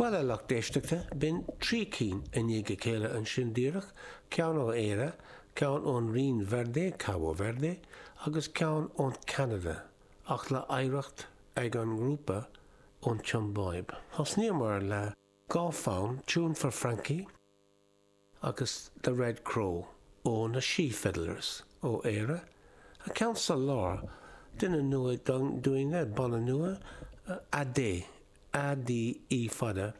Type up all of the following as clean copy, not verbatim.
Bhuel, a lucht éisteachta, b'in 3 cinn i ndiaidh a chéile ansin díreach, ceann ó Éire, ceann ón Rinn Verde, Cabo Verde, agus ceann ón Ceanada, ach le hoidhreacht ag an ngrúpa ón tSiombáib. Thosnaíomar le 2 fonn, Tune for Frankie, agus The Red Crow ó na She Fiddlers ó Éire, an ceann sa lár, duine nua dúinne, banna nua, Ade, A-D-E fada,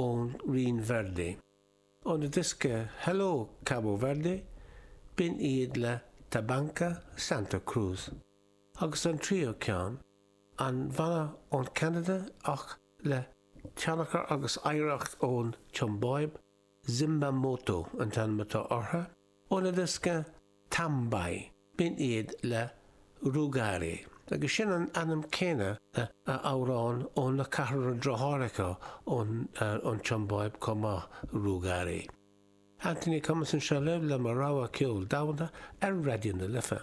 ón Rinn Verde. Óna diosca Hello Cabo Verde, b'in iad le Tabanka Santa Cruz. Agus an tríú ceann, an bhanna ón Ceanada ach le tionchar agus oidhreacht ón tSiombáib, Zimbamoto an t-ainm atá orthu, óna diosca Tambai, b'in iad le Rugare, agus sin an ainm céanna le amhrán ó na ceathrar deartháireacha ón tSiombáib chomh maith, Rugare. Anthony Cummins anseo libh le mo rogha ceol domhanda ar Raidió na Life.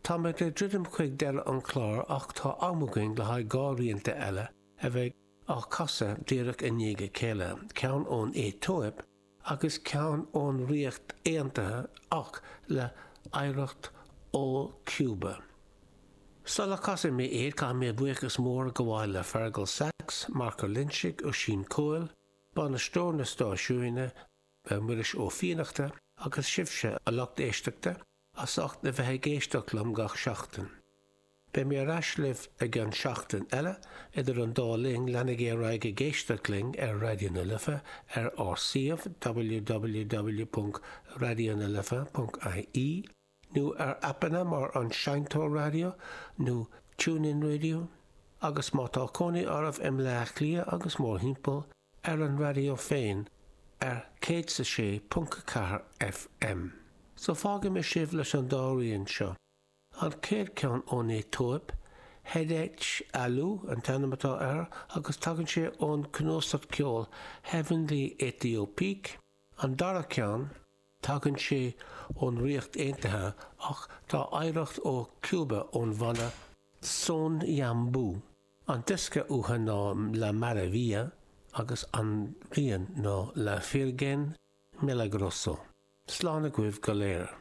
Táimid ag druidim chuig deireadh an chláir ach tá am againn le haghaidh 2 rianta eile a bheidh á casadh díreach i ndiaidh a chéile, ceann ón Aetóip agus ceann ón Ríocht Aontaithe ach le hoidhreacht ó Cuba. Sula casfaidh mé iad, caithfidh mé buíochas mór a ghabháil le Fergal Sachs, Marc Ó Loinsigh, Oisín Cóil, bainisteoir na stáisiúine, Muiris Ó Fiannachta, agus sibhse, a lucht éisteachta, as ucht a bheith ag éisteacht liom gach seachtain. Beidh mé ar ais libh i gceann seachtain eile, idir an dá linn, leanaigí ar aghaidh ag éisteacht linn ar Raidió na Life ar ár suíomh www.raidionalife.ie nó ar aipeanna mar an Seinnteoir Raidió nó TuneIn Radio agus má tá cónaí oraibh i mBleá Cliath agus mórthimpeall, ar an raidió féin ar 106.4 FM. So fágfaidh mé sibh leis an dá rian seo. An chéad cheann ón Aetóip, Hedech Alu an t-ainm atá air agus tagann sé ón cnuasach ceoil Heavenly Ethiopiques. An dara ceann, tagann sé ón Ríocht Aontaithe ach tá oidhreacht ó Cuba ón bhanna Son Yambu. An diosca uathu ná La Maravilla agus an rian ná La Virgen Milagroso. Slán agaibh go léir.